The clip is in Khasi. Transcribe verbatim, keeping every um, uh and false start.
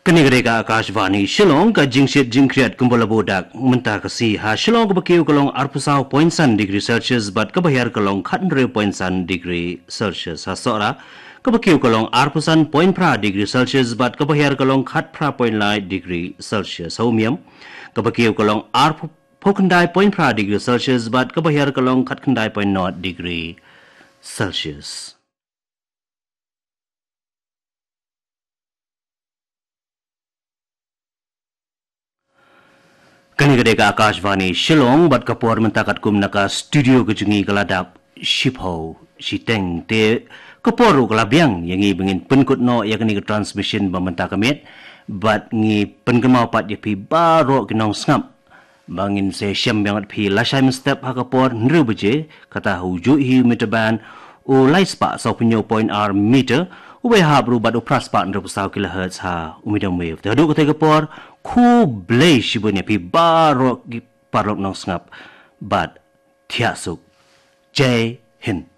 Kane ka dei ka Akashvani Shillong. Ka jingshit jingkhriat kumba la buh dak mynta ka sngi ha Shillong, kaba kiew ka long arphew saw point san degree Celsius bad kaba hiar ka long khathynriew point san degree Celsius. Ha Sohra, kaba kiew ka long arphew san point phra degree Celsius bad kaba hiar ka long khatphra point lai degree Celsius. Ha Umiam, kaba kiew ka long arphew khyndai point phra degree Celsius bad kaba hiar ka long khatkhyndai point nod degree Celsius. Kane ka dei ka Akashvani Shillong bad ka por mynta katkum na ka studio ka jong ngi ka la dap shiphew shiteng, te ka por ruh ka la biang ïa ngi ba ngin pynkut noh ïa kane ka transmission ba mynta ka miet. Bad ngi pynkynmaw pat ïa phi baroh ki nongsngap ba ngin sa shem biang ïa phi lashai mynstep ha ka por hynriew baje, kata ha u juh hi u meter band u lai spah sawphew point ar meter, u bai hap ruh bad u phra spah hynriewphew saw kilohertz ha u medium wave. Te haduh katei ka por, khublei shibun ïa phi baroh ki paralok nongsngap bad thiah suk. Jai Hind.